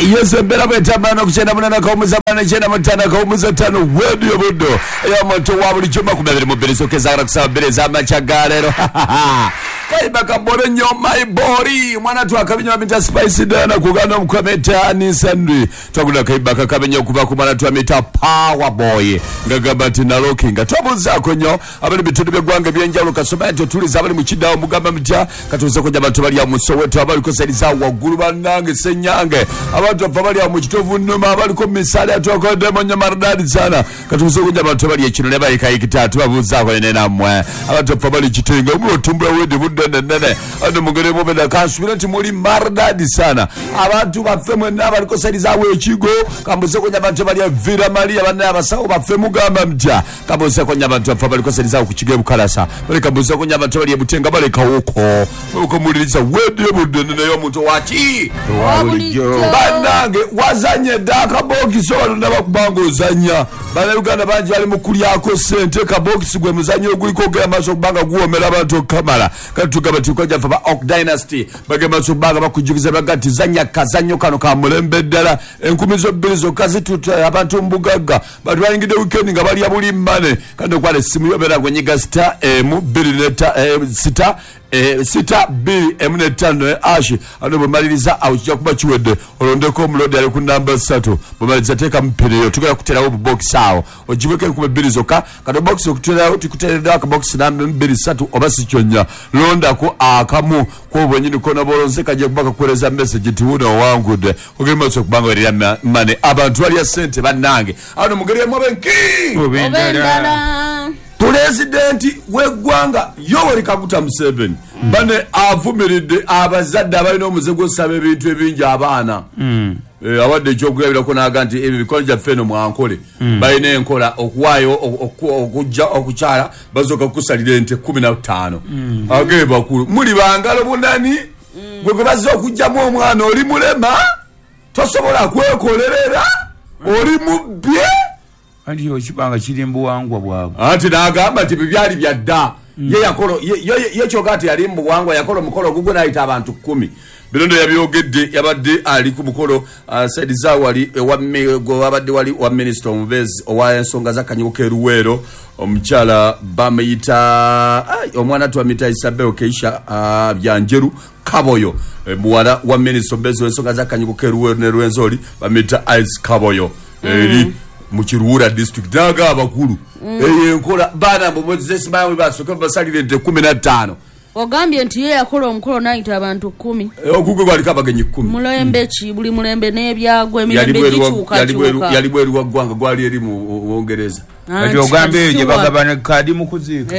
Yes, embeera bwetambula nokukyenda munana kawumuza bana kyenda mutano kawumuza ttano Radio Buddu ey'omuntu wa bulijjo 22 sokezagala kusaba bbiri ez'amakya ga leero. Kayimba kabole nnyo my body mwana twakabinywa mita Spice Diana kuganda omukwameta Nissan twagula kayimba kakabenya okuva ku mwana twamita Power Boy ngagamba nti nalokinga twabuuzaako nnyo abali bitundu by'eggwanga ebyenjawulo kasoma nti otuliza abali mu kiddawo mugamba mutya katuuze kujja abantu bali awo mu Soweto abaliko saliza waggulu bannange Ssenyange abantu baffe abali awo mu Kitovu Nnuma abaliko mu misaale atwakoddemu nnyo maridadi sana katuuze kujja abantu bali ekino ne bayikayikita tubabuuzaako ne nammwe abantu baffe abali Kitenga omuli otumbula wedi budde nene ano mugere mubeda kansubira nti muli maridadi sana abantu baffe mwenna abaliko saliza ekigo kambuze kujja abantu bali Villa Maria banna abasawo baffe mugamba mutya kambuze kujja abantu baffe abaliko saliza ku Kigo Bukalasa bali kambuze kujja abantu bali Butenga balekawoko mukomuliriza wedi budde nene y'omuntu waki bannange wazanye dda akabokisi wano ndaba ozannya bannayuganda bangi bali mu kulyako ssente kabokisi gwe muzannyo oguliko ogenda maaso okubanga guwoomera abantu okukamala kati tugamba tukajja ffe ba Oak Dynasty bagenda maaso okubanga bakujjukiza baga nti zannya kazannyo kano ka mulembe ddala 2000 zokka zituta abantu mu bugagga bantu bayingidde weekend nga balya buli mmane kandi okwala essimu yo beera gwenyiga sita emu bbiri sita 6 2 5 ashi ano bwemaliriza awo kijja kuba kiwedde olondeko omulodi ali ku namba 3 bwemaliriza teeka mupireyo tugenda kuterawo obubokisi awo ogibweko 2000 zokka kati obokisi okuterawo tukuteereddewo akabokisi namba 2 3 oba si kyonnya londako akamu kwo bwennyini kona bolonze kajja kuba kakuweereza message nti wuno owangudde ogenda maaso okubanga werera mane abantu balya ssente bannange ano mugeri emu obenki obendala Pulezidenti w'eggwanga Yoweri Kaguta Museveni bane avumiridde abazadde abalina omuze gw'osaba ebintu ebingi abaana. Awadde ekyokulabirako n'aga nti ebyo ebikono gyaffe eno mwankole balina enkola okuwaayo okujja okukyala basooka kukusalira ente 15 agee bakulu muli bangalo bunani gwe gwe bazze okugjamu omwana oli mulema tosobola kwekolerera oli mubbye. Anti okibanga kiri mu buwangwa bwabwe. Anti n'agamba nti ebyo byali bya dda. Ye yakola ye kyoka nti yali mu buwangwa yakola omukolo ogugwe n'ayita abantu 10. Bino nno yabyogedde yabadde ali ku mukolo saidi za wali ewa gwe wabadde wali wa minisita omubeezi owa ensonga z'akanyugo k'e Luweero omukyala bamuyita omwana twamuyita Isabel Keisha Byanjeru Kaboyo muwala wa minisita omubeezi w'ensonga z'akanyugo k'e Luweero ne Rwenzori bamuyita Ice Kaboyo eri mu Kiruhura district n'aga abakulu eyo enkola baana mbumozesimawe basooke basalire ente 15. Ogambye nti ye yakola omukolo n'ayita abantu 10. Ogugwe gwaliko abagenyi 10. Mulembe ki buli mulembe n'ebyagwa emirembe gituuka. Yali bweru wa ggwanga gwali eri mu Bungereza. Kati ogambye eyo gye bagabana kaadi mu kuziika.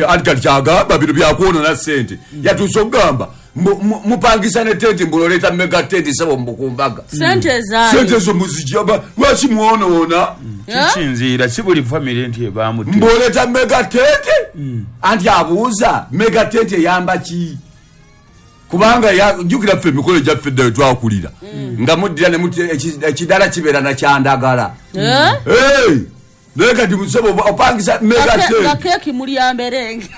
Anti kati kyagamba bino byakwonoona ssente. Yatuuse okugamba mupangisa ne tenti mbu oleeta mega tenti sebo mbukumbaga. Ssente zaali. Ssente zo muzijja lwaki mwonoona? Kisinziira si buli famire nti ebaamu tenti. Mbu oleeta mega tenti? Anti abuuza mega tenti eyamba ki? Kubanga jjukira ffe emikolo gyaffe dda we twakulira nga muddira ne ekidala kibeera na kyandagala. Naye kati musebo opangisa mega tenti. Nga keeki mulya mberenge.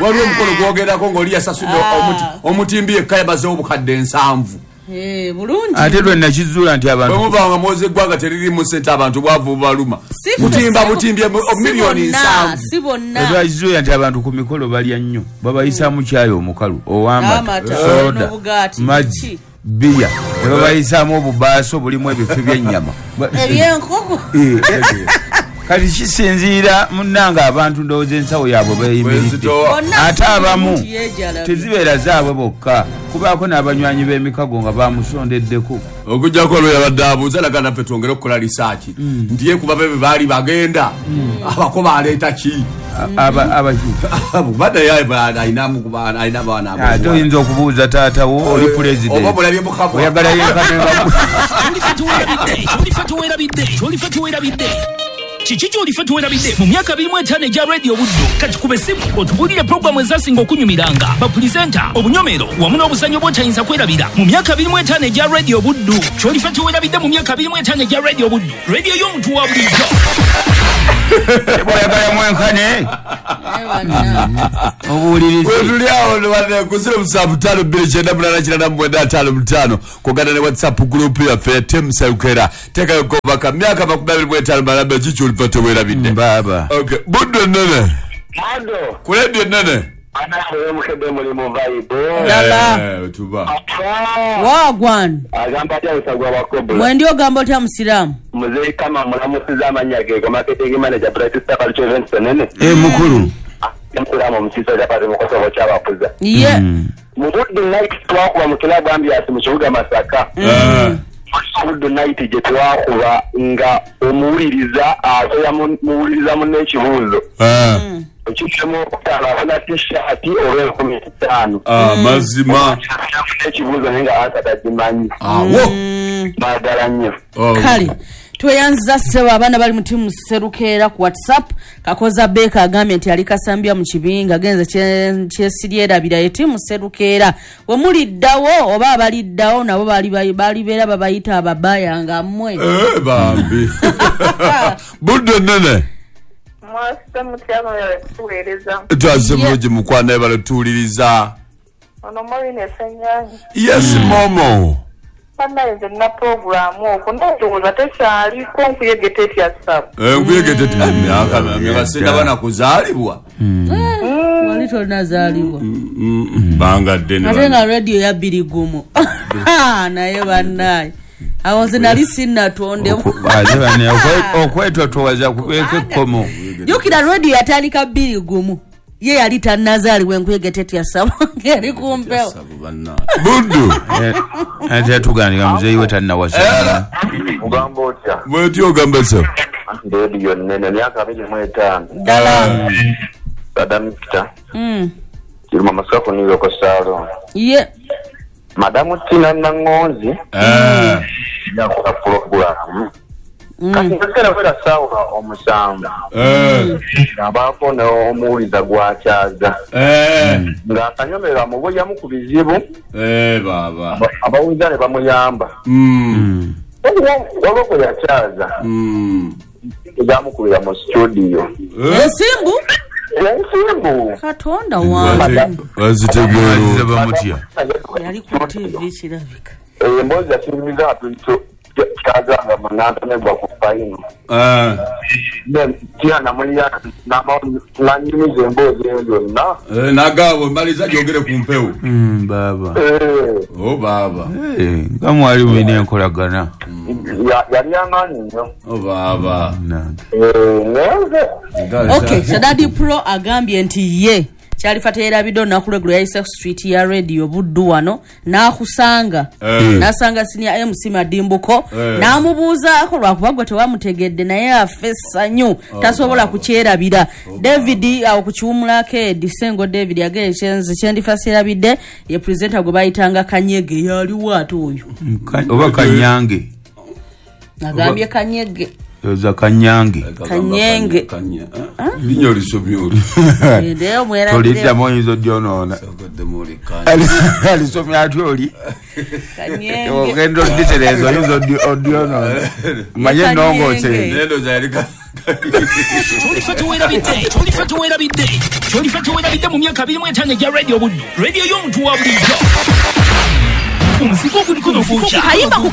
Waliwo omukolo gwogerako ng'oli yasasudde omutimbi yekka yamazeewo obukadde 7. Bulungi. Ate lwe nakizuula nti abantu bwe muvanga mwoza eggwanga teririmu ssente abantu bwavu bubaluma. Mutimba butimbi miliyoni 7. Si bonna. Lwe nti abantu ku mikolo balya nnyo babayisaamu kyayi omukalu ow'amata soda mazzi bbiya ne babayisaamu obubaaso bulimu ebifi by'ennyama ebyenkoko. Kati kisinziira munnange abantu ndowooza ensawo yaabwe beeyimiridde ate abamu tezibeera zaabwe bokka kubaako n'abanywanyi b'emikago nga bamusondeddeko. Okuggyako olwo yabadde abuuza laga naffe twongere okukola lisaaki nti ye kuba bebe baali bagenda abako baleeta ki? Abadde alina abaana ate oyinza okubuuza taata wo oli pulezidenti oba bulabye mukabwa oyagala yenkane. Kyolife tuwerabidde kiki kyolife tuwerabidde mu myaka 25 egya Radio Buddu kati kuba essimu otubuulire pulogulaamu ezasinga okunyumiranga bapulizenta obunyomero wamu n'obuzannyo bw'otayinza kwerabira mu myaka 25 egya Radio Buddu kyolife tuwerabidde mu myaka 25 egya Radio Buddu radio y'omuntu wa bulijjo. Bwayagala mwenkane obuwulirize. Wetuli awo ku 0752 989 95 kuganda ne WhatsApp group yaffe Team Serukera. Tekayo kobaka myaka 25 malambe kiki olifa tewerabidde. Baba. Okay, Buddu ennene. Ado. Ku leediyo ennene. Anawe mukedde mulimu vibe. Ddala. Tuba. Wagwan. Agamba atya Nsagwa Bakobula. Mwendi ogamba otya musiraamu? Muzeeyi Kama mulamusiza amannya ge go marketing manager Bright Star Culture Events Nene. Mukulu. Mukulamu omusiisa kyapati mu Kosovo kyabakuza. Ye. Mu Buddu Night twakuba mu club Ambiance mu kibuga Masaka. Buddu Night gye twakuba nga omuwuliriza asoya muwuliriza munne ekibuuzo. Ekitemu okutaano afuna t-shirt oba 15,000. Mazima. Ekibuuzo naye nga ansa tagimanyi. Awo. Baagala nnyo. Kale tweyanziza ssebo abaana bali mu tiimu Serukeera ku WhatsApp. Kakoza Beka agambye nti ali Kasambya mu kibinga agenze kyesiryerabira ye tiimu Serukeera. We muliddawo oba abaliddawo nabo balibeera babayita ababaya nga mmwe. Bambi. Buddu ennene. Mwasite mutya kuweereza. Twazze bulungi mukwano ebale tuwuliriza. Ono Maureen Ssenyange. Yes Momo. Bannange nze nina puroguraamu okwo ndowooza tekyaliko nkuyege tetya ssabo. Nkuyege tetya myaka myaka sindaba na kuzaalibwa. Wali tonnazaalibwa. Bbanga ddene. Ate nga rediyo ya bbiri gumu. Naye bannaye. Awo nze nali sinnatondebwa. Okwetotowaza kubeeko ekkomo. Jjukira rediyo yatandika bbiri gumu. Ye yali tannazaalibwa enkuyege tetya ssabo ng'eri ku mpewo. Buddu. Ate yatugambye muzeeyi we tannawasa. Ogamba otya? Bw'otyo ogamba ssebo. Rediyo nnene myaka 25. Ddala. Madam Peter. Kiruma Masaka ku New York Salon. Ye. Madamu Tina Nangonzi. Yakola pulogulaamu. Kati nkaseera kwera ssaawa 7. Abaako n'omuwuliza gw'akyaza. Ng'akanyomero amuboyamu ku bizibu. Baba. Abawuliza ne bamuyamba. Waliwo gwe yakyaza. Ezamukubira mu studio. Ensimbu? Ensimbu. Katonda wange. Wazitegeera bamutya. Yali ku TV kirabika. Emboozi yakinyumiza kyazanga munantamegwa ku fayino. Tina nanyumiza emboozi eyo yonna. Nagabo maliza gyogere ku mpewo. Baba. Oh baba. Nga mwali mulina enkolagana. Yali amaanyi nnyo. Oh baba. Okay, Shadadi Pro agambye nti ye Kyalifa teyerabidde olunaku lweggulo yayise ku street ya radio Buddu wano n'akusanga. N'asanga senior MC Madimbuko n'amubuuzaako lwakuba gwe tewamutegedde naye afa essanyu tasobola kukyerabira. David awo ku kiwumulako Edi Ssengo David yagenda kyendifa seerabidde ye presenter gwe bayitanga Kanyege yaliwo ate oyo. Oba Kanyange. Agambye Kanyege. Yoza Kanyange. Kanyenge. Linnya olisomye oli. Toliddamu oyinza oddyonoona. Alisomye atya oli? Kanyenge. Ogenda oditereeza oyinza oddyonoona. Manye ennongoose. Kyolifa teweerabidde. Kyolifa teweerabidde. Kyolifa teweerabidde mu myaka 25 egya Radio Buddu. Radio y'omuntu wa bulijjo. Omuzigo oguliko n'ogwokya. Kayimba ku